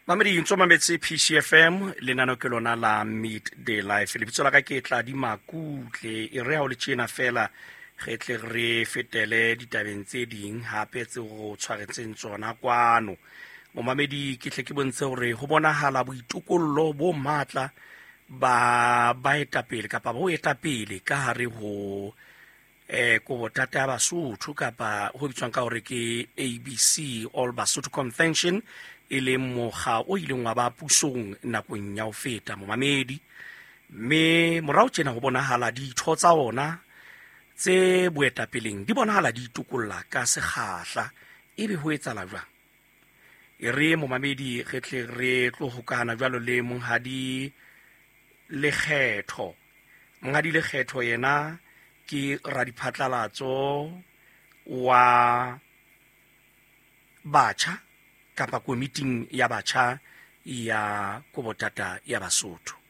Mamedi ntso mametse PCFM, lenano ke lona la Midday Life. Lebitso la ka ke Tladi Makutle. E re ha o le tjena fela re tle re fetele ditabeng tse ding hape tse go tshwaretseng tsona kwano. Momamedi, ke tle ke bontshe hore ho bonahala boitokollo bo matla ba baetapele kapa bo etapele ka hare ho kobotata ya Basotho kapa ho bitswang ka hore ke ABC, All Basotho Convention, e leng mokga o ileng wa ba pusong nakong ya ho feta, momamedi. Mme morao tjena ho bonahala ditho tsa ona tse boetapeleng di bonahala di itokolla ka sekgahla. Ebe ho etsahala jwang? E re momamedi re tle re tlo hokana jwalo le Monghadi Lekgetho. Monghadi Lekgetho yena ke radiphatlalatso wa batjha kapa komiting ya batjha ya Kobotata ya Basotho.